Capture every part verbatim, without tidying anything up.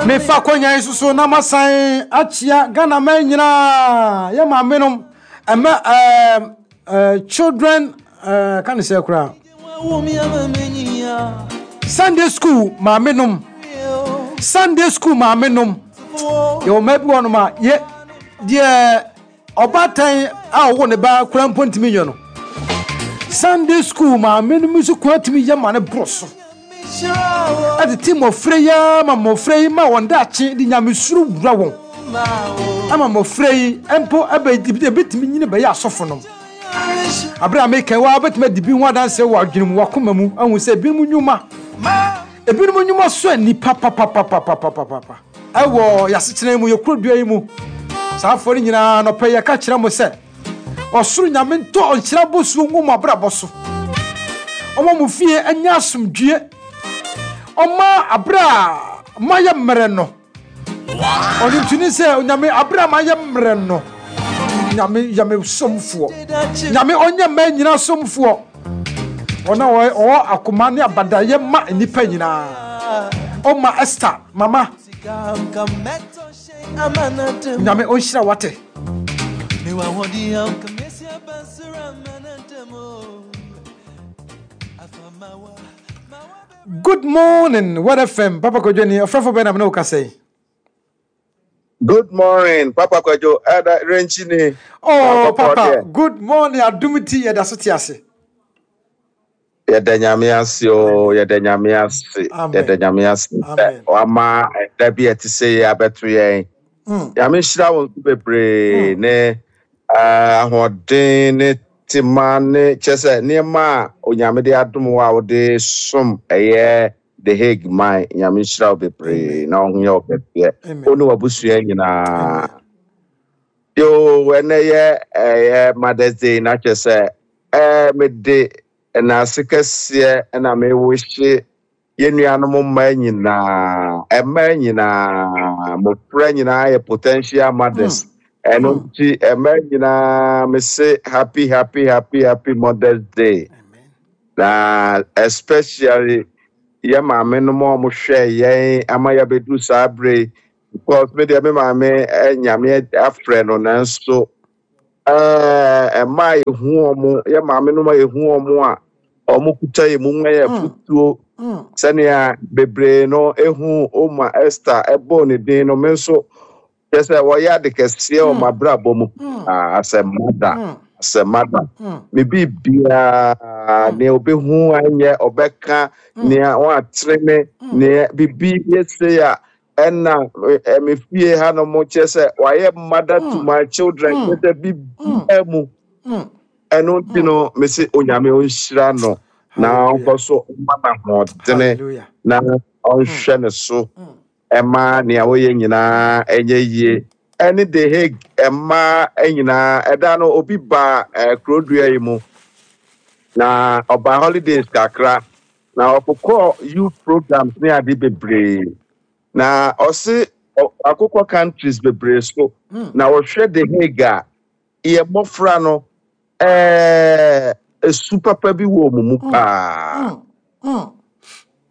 Mefa akonnwa yi so na masan akyia Ghana man nyinaa, yɛ maame nom, ɛmɛ ɛɛ ɛɛ children ɛɛ ka ne sɛ koraa Sunday school maame nom, Sunday school maame nom. Yɛwɔ mmaa bi wɔ nom a yɛ deɛ ɔbaatan a ɔwɔ ne ba kura mpo ntumi nyɛ no, Sunday school maame nom nso kura tumi yɛ ma ne boro so, ɛtete mmɔfra yi ara ma mmɔfra yi ma wɔn daakye de Nyamesuro wura wɔn, ama mmɔfra yi mpo ɛbɛ ebitumi nyini bɛyɛ asɔfo nom. Abere a meka wa wobɛtumi adi bi ho adanseɛ wɔ adwene mu, wakoma mu ahu sɛ ebinom nnwuma ebinom nnwuma so nipa papapapapapapa ɛwɔ yɛasetena mu, yɛ kurodua yi mu. Saa afɔ no nyinaa nɔpɛ yɛka kyerɛ mo sɛ ɔsoro Nyame ntɔ ɔnhyira bosuo ngu mo abrabɔ so, ɔma mo fie anya asomdwie, ɔma abere a mayɛ mmerɛ no, ɔno ntuni sɛ Onyame abere a mayɛ mmerɛ no, Nyame yɛ me somfoɔ. Nyame ɔnyɛ mmaa nyinaa somfoɔ, ɔna ɔwɔ akoma ne abadayɛ ma nnipa nyinaa. Ɔma Esther mama, Nyame ɔnhyira wate. Good morning, What F M. Papa Kwadwo ni ɔfrɛfo bɛn na mene wo kasa yi? Good morning, Papa Kwadwo. Ɛda Renchi ni. Oh, Papa, good morning. Adum ti yɛda so te ase. Yɛda Nyame ase o, yɛda Nyame ase. Yɛda Nyame ase. Wama ɛda bi ɛte sɛ yɛ abɛto yɛn. Nyame nhyira wo nso bebree ne ahoɔden ne tema ne kyerɛ sɛ nneɛma a Onyame de adom wo a wode som ɛyɛ The Hague man. Nyame nhyira wo bebree na ɔho yɛ wo kɛseɛ. Wo ne w'abusua nyinaa. Yo, ɛnɛ yɛ ɛyɛ Mother's Day na kyerɛ sɛ ɛɛ mede ɛnaase kɛseɛ ɛna mewɔhye yɛn nuanom mmaa nyinaa, mmaa nyinaa, mmɔfra nyinaa yɛ potential mothers. Ɛno nti mmaa nyinaa mese happy, happy, happy, happy Mother's Day. Na especially yɛ maame nom a wɔhwɛ yɛn ama yɛabɛduru saa bere, because me deɛ, me maame Nyame afrɛ no, nanso ɛɛ mmaa a yɛhu wɔn, yɛ maame nom a yɛhu wɔn a wɔn kuta yɛ mu ma yɛ futuo, sɛnea bebree no ehu Oma Esther ɛbɔ ne din no, me nso kyerɛ sɛ wɔyɛ ade kɛseɛ wɔ m'abrabɔ mu asɛ mother asɛ mother me biribiara, nea obehu anyɛ ɔbɛka, nea wɔatene me, nea bibi yɛ sei a ɛna me fie ha no mo, kyerɛ sɛ wayɛ mother to my children, kyerɛ sɛ biribiara mu. Ɛno nti no mesi Onyame ɔnhyira no na ɔnkɔ so ma n'ahoɔdene na ɔnhwɛ ne so, ɛma nea wɔyɛ nyinaa ɛnyɛ yie. Ɛne The Hague mmaa nyinaa, ɛda no obi ba ɛɛ kurodua yi mu na ɔba holidays kakra na ɔkokɔ youth programs ne ade bebree, na ɔse akokɔ countries bebree so na ɔhwɛ The Hague a yɛ mmɔfra no ɛɛ esu papa bi wɔ wɔn mu paa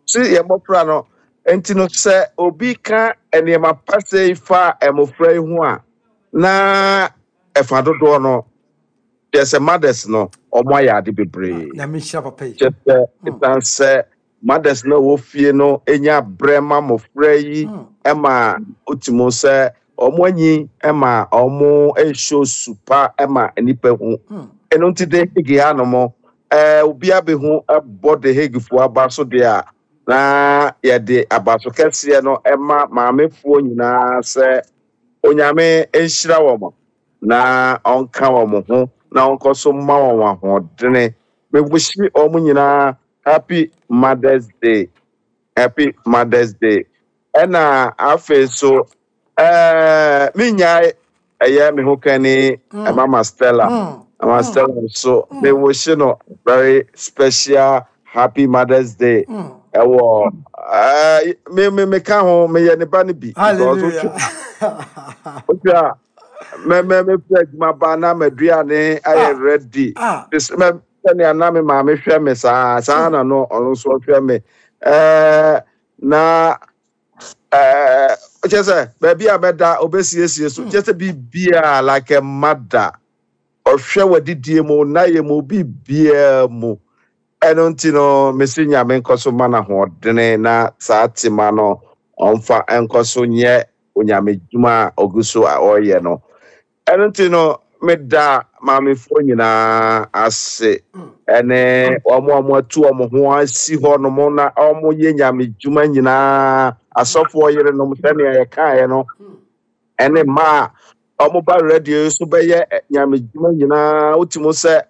si yɛ mmɔfra no. Nti no sɛ obi ka nneɛma pa sɛ fa mmɔfra yi ho a, na ɛfa dodoɔ no kyerɛ sɛ mothers no ɔmo ayɛ ade bebree. Nyame nhyira papa yi. Kyerɛ sɛ ɛsan sɛ mothers no a ɛwɔ fie no enya brɛ ma mmɔfra yi, ɛma otimu sɛ ɔmo anyi, ɛma ɔmo ɛhyɛ su pa ɛma nipa hu. Ɛno nti The Hague hanom ɛɛ obi abɛhu ɛbɔ The Hague foɔ aba so deɛ a, na yɛde abaso kɛseɛ no ɛma maamefoɔ nyinaa sɛ Onyame nhyira wɔn na ɔnka wɔn ho na ɔnkɔ so ma wɔn ahoɔdene. Mebusi wɔn nyinaa happy Mother's Day, happy Mother's Day. Ɛna afei so ɛɛ menyae ɛyɛ me ho kani Mama Stella. Mama Stella nso mewɔhye no very special happy Mother's Day. Ɛwɔ ɛɛ me me meka ho, meyɛ ne ba no bi because Hallelujah. Wotwa a mɛ mɛ mefiri adwuma ba na m'aduane ayɛ Ah. ready. Ah. Te sɛ mɛ sɛnea na me maame hwɛ me saa saa na no ɔno nso ɔhwɛ me ɛɛ na Ɛɛ kyerɛ sɛ baabi a bɛda obɛsiesie so, kyerɛ sɛ biribiara like a mother. Ɔhwɛ w'adidie mu, nayɛ mu, biribiara mu. Ɛno nti no, mesi Nyame nkɔ so ma no ahoɔdene na saa tema no ɔmfa nkɔ so nyɛ Onyame dwuma a ɔgu so a ɔreyɛ no. Ɛno nti no, meda maamefoɔ nyinaa ase, ɛne wɔn a wɔatu wɔn ho asi hɔ nom na wɔyɛ Nyame dwuma nyinaa, asɔfoɔ yerenom sɛnea yɛkaeɛ no, ɛne mmaa a wɔn ba radio yi so bɛyɛ Nyame dwuma nyinaa. Wotim sɛ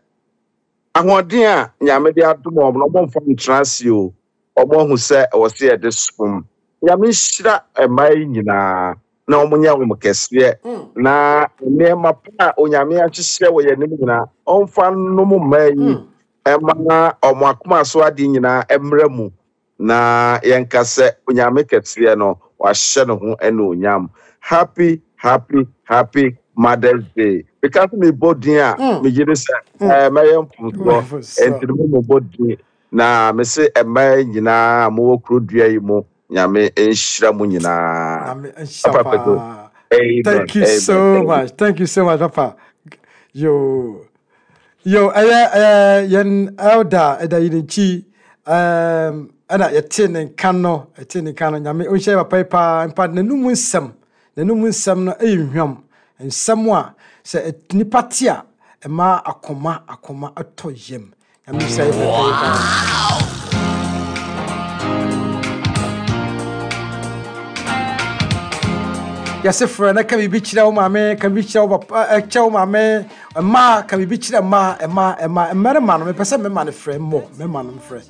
ahoɔden a Nyame de adom wɔn no, wɔmfa ntena ase o. Wɔn ahu sɛ ɛwɔ sɛ yɛde som. Nyame nhyira mmaa yi nyinaa na wɔn nyɛ wɔn kɛseɛ, na nneɛma pa a Onyame ahyehyɛ wɔ yɛn anim nyinaa, ɔmfa nnom mmaa yi, ɛma wɔn akoma so adeɛ nyinaa mmerɛ mu, na yɛnka sɛ Onyame kɛseɛ no wahyɛ ne ho anuonyam. Happy, happy, happy Mother's Day. Because me bɔ din a, megye di sɛ ɛɛ mɛyɛ mfomsoɔ, nti no mo bɔ din na mese mmaa nyinaa a mowɔ kuro dua yi mu, Nyame nhyira mo nyinaa. Nyame nhyira Papa Kwadwo. paa. Amen. Thank you Amen. so Amen. much. Thank you so much, Papa. Yo. Yo, ɛyɛ ɛyɛ yɛn elder ɛda yi n'akyi, um, ɛna yɛte ne nka no, yɛte ne nka no. Nyame ɔnhyɛ papa yi paa. Mpa n'anum nsɛm, n'anum nsɛm no ɛyɛ hwam. Nsɛm a sɛ nipa te a, ɛma akoma akoma atɔ yam. Nyame nhyɛ yɛ papa yi paa. Yɛse frɛ na ka biribi kyerɛ wo maame, ka biribi kyerɛ wo papa, kyerɛ wo maame, mmaa, ka biribi kyerɛ mmaa, mmaa, mmaa, mmarima no, mepɛ sɛ mmarima no frɛ mmɔ, mmarima no frɛ.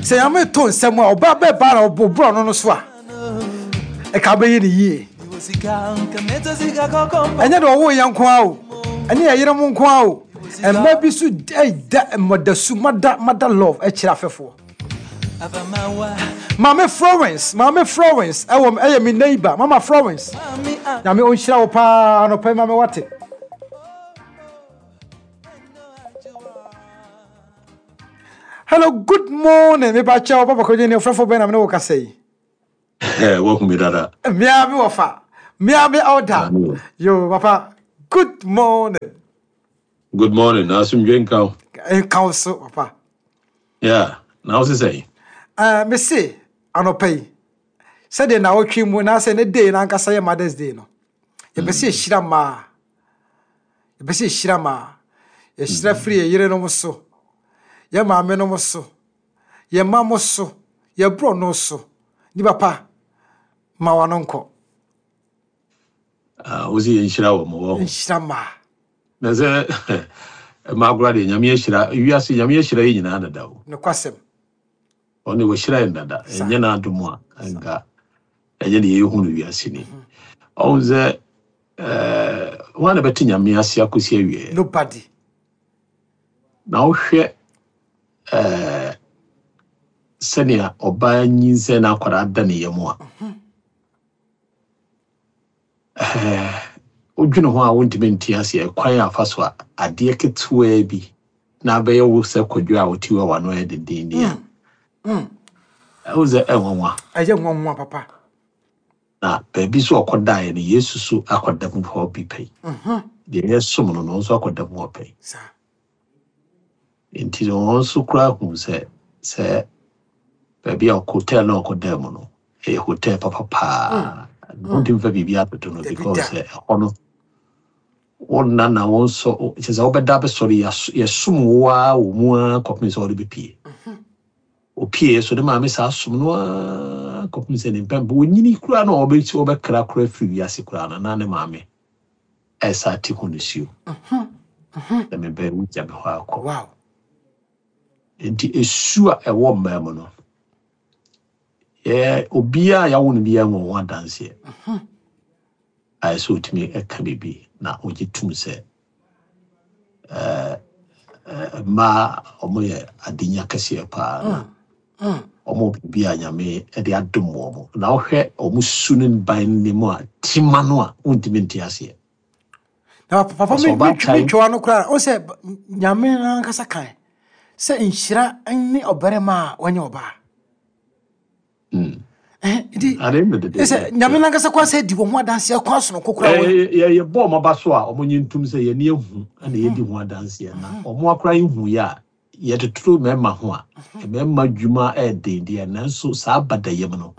Sɛ Nyame to nsɛm a, ɔbaa bɛɛ baa na ɔbɔ ɔno no so a, ɛka bɛyɛ ne yie. Ɛnyɛ deɛ ɔwɔ yɛn nko ara o, ɛne yɛ yere mo nko ara o. Mmaa bi so ɛda mmɔdasu, mother, mother love ɛkyerɛ afɛfoɔ. Maame Florence, Maame Florence, ɛwɔ ɛyɛ me neighbor, Mama Florence. Nyame ɔnhyira wo paa anɔpa yi, maame wate. Hello, good morning. Me ba kyɛw, Papa Kwadwo ne ɔfrɛfo bɛn na me ne wo kasa yi? Wahu me dada. Mmea me wɔfa. Mmea me elder. Yo, papa. Good morning. Good morning. Na asomdwe nka wo. Nka wo so, papa. Yeah. Na wo sesɛ? Uh, me se anɔpa yi, sɛdeɛ na wɔtwe mu na sɛ ne day na ankasa yɛ Mother's Day no, yɛpɛ sɛ yɛhyira mmaa. Yɛpɛ sɛ yɛhyira mmaa. Yɛhyira firi yɛ yerenom so, yɛ maamenom so, yɛ mma mo so, yɛ borɔno so. Ni papa, ma wano nkɔ. Ah, wo sɛ yɛnhyira wɔ mo wɔ ho. Nhyira mmaa. Na sɛ mmaa koraa deɛ, Nyame ahyira wiase, Nyame ahyira yɛ nyinaa dada o. Nokwasɛm. Ɔne wɔhyira yɛn dada. Saa. Ɛnyɛ n'adom a nka ɛnyɛ deɛ yɛhu no wiase ni. Ɔhu sɛ ɛɛ wɔn a na bɛte Nyame ase akɔsi awieɛ. Nobody. Na wohwɛ ɛɛ sɛnea ɔbaa nyinsɛn na akwadaa da ne yam a, ɛɛ wodwene ho a, wontumi nte aseɛ kwan a afa so a adeɛ ketewaa bi na abɛyɛ wo sɛ Kwadwo a wote hɔ a w'ano yɛ dendenden a, Mm. ɛwo sɛ ɛnwanwa. Ɛyɛ nwanwa papa. Na baabi so ɔkɔdaeɛ no, Yesu so akɔda mu hɔ bi pɛi. Mhm. Deɛ yɛsom no no nso akɔda mu hɔ pɛi. Saa. Nti no, wɔn nso koraa hu sɛ sɛ baabi a hotel na ɔkɔdaa mu no ɛyɛ hotel papa paa. Wontumi fa biribi atoto no Dabi because da. sɛ ɛhɔ no wonna na wo nso kyerɛ sɛ wobɛda bɛsɔre, yɛas- yɛsom wo ara wɔ mu ara kɔpem sɛ wode bɛpie. Opie so ne maame saa som no ara kɔpem sɛ ne mpɛn wɔnyini koraa na ɔbɛsi wɔbɛkra koraa firi wiase koraa no, na ne maame ɛsa te ho nisuo na mebɛn wogya me hɔ akɔ. Wow. Nti esu a ɛwɔ mmaa mu no, yɛ obiara a yɛawo no biara wɔ ho adanseɛ a ɛsɛ sɛ otumi ɛka biribi na ogye tum sɛ ɛɛ ɛɛ mmaa ɔmo yɛ adenya kɛseɛ paa na ɔmo biribi a Nyame ɛde adom wɔn, na wohwɛ ɔmo su ne ban ne mu a tima no a, wontumi nte aseɛ. Na papa, Ɔsɛ me ɔbaatan. me twɛ no koraa, o sɛ Nyame ankasa kan sɛ nhyira ne ɔbarima a wɔnyɛ ɔbaa. Mm. Eh, nti At the end of the day, sɛ Nyame nankasa kɔ sɛ di wɔn ho adanseɛ kwan sononko koraa wɔ yɛbɔ ɔmo aba so a, ɔmo nye ntum sɛ yɛne ehu ɛna yɛdi ho adanseɛ, na ɔmo akora ehu yɛ a yɛtotoro mmarima ho a, mmarima dwuma ɛɛden deɛ, nanso saa badayam no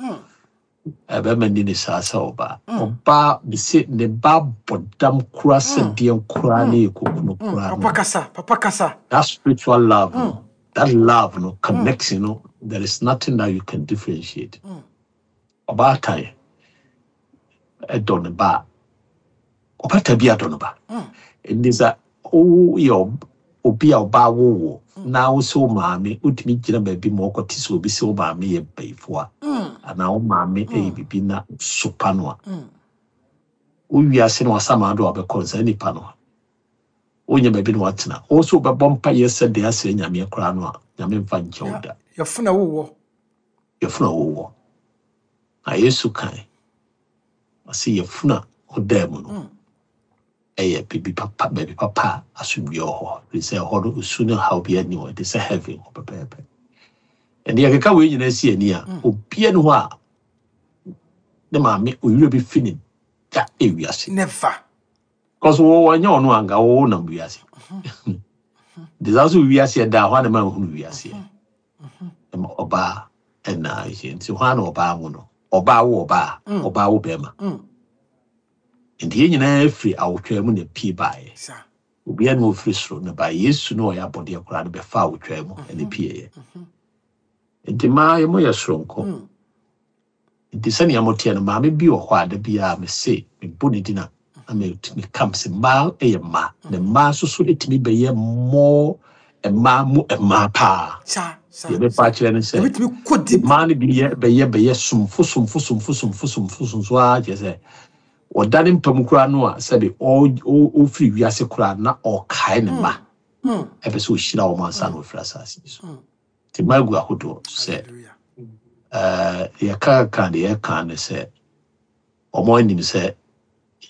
ɛbɛma ni ne saa sɛ ɔbaa ɔbaa bese ne ba bɔ dam kora sɛ deɛ koraa ne yɛ kokunu koraa Papa no. kasa, papa kasa. That spiritual love no, that love no, connection no, there is nothing that you can differentiate. Ɔbaatan ɛdɔ ne ba a, ɔbata bi adɔ ne ba. Nti sɛ woyɛ ɔb- obi a ɔbaa wowo na wo sɛ wo maame wotumi gyina baabi ma ɔkɔte sɛ obi sɛ wo maame yɛ bayifoɔ a, anaa wo maame ɛyɛ biribi na sopa no a, wo wiase no wasama do a wobɛkɔ no, saa nipa no wonya baabi na watena. Wo nso wobɛbɔ mpayɛ sɛ deɛ asrɛ Nyame koraa no a, Nyame mfa nkyɛ wo da. Yɛfo na wowɔ. Yɛfunu a wowɔ na Yesu kan ɔsɛ yɛfunu a ɔdaa mu no ɛyɛ biribi papa, baabi papa a asomdwe wɔ hɔ, ɛfiri sɛ ɛhɔ no osu ne haw bi ani hɔ, ɛte sɛ heaven hɔ pɛpɛɛpɛ. Ɛnde yɛkeka wei nyinaa si ani a, obia ne hɔ a ne maame owura bi fi ne da ewiase. Never. Because wo wɔnyɛ ɔno anka wo nam wiase de saa so wiase ɛda hɔ a, ne ma nhunu wiase ɛma ɔbaa ɛna ɛhyɛ. Nti hɔ a na ɔbaa wo no, ɔbaa wo, ɔbaa ɔbaa wo bɛrima. Nti yɛn nyinaa firi awotwaa mu na pie baeɛ. Saa. Obiara na ofiri soro na ba. Yesu na ɔyɛ abɔdeɛ koraa no bɛfa awotwaa mu ɛna pieeɛ. Nti mmaa yɛ mo yɛ soronko. Nti sɛnea moteɛ no, maame bi wɔ hɔ a da biara mese mebɔ ne din a na metumi kam sɛ mmaa yɛ mmaa, na mmaa nso so tumi bɛyɛ mmɔɔ mmaa mu mmaa paa. Saa saa. Deɛ bɛpa akyerɛ no sɛ Ebitumi kɔ deep. Mmaa no bi yɛ bɛyɛ bɛyɛ somfo somfo somfo somfo somfo somfo ara, kyerɛ sɛ ɔda ne mpa mu koraa no a, sɛbi ɔ- ɔ- ɔfiri wiase koraa na ɔkae ne mma, ɛpɛ sɛ ɔhyira wɔn ansa na ɔfiri asase yi so. Nti mmaa gu ahodoɔ sɛ Hallelujah. ɛɛ yɛka ka deɛ yɛka ne sɛ wɔn anim sɛ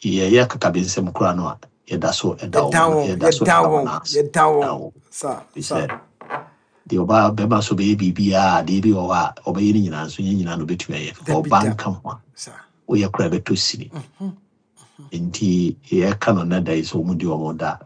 yɛyɛ kakabensɛm koraa no a, yɛda so ɛda Yɛda wɔn wɔn. Yɛda so Yɛda ɛda wɔn. wɔn ase. Yɛda Yɛda wɔn. wɔn. Saa Ɛfiri saa. sɛ deɛ ɔbaa bɛrima so bɛyɛ biribiara, adeɛ bi wɔ hɔ a ɔbɛyɛ no nyinaa nso, nyɛ nyinaa na ɔbɛtumi ayɛ. Dabi ɔbaa da. nka ho a Saa. woyɛ koraa bɛtɔ sini. Nti yɛka no nna da yi sɛ wɔn di wɔn da.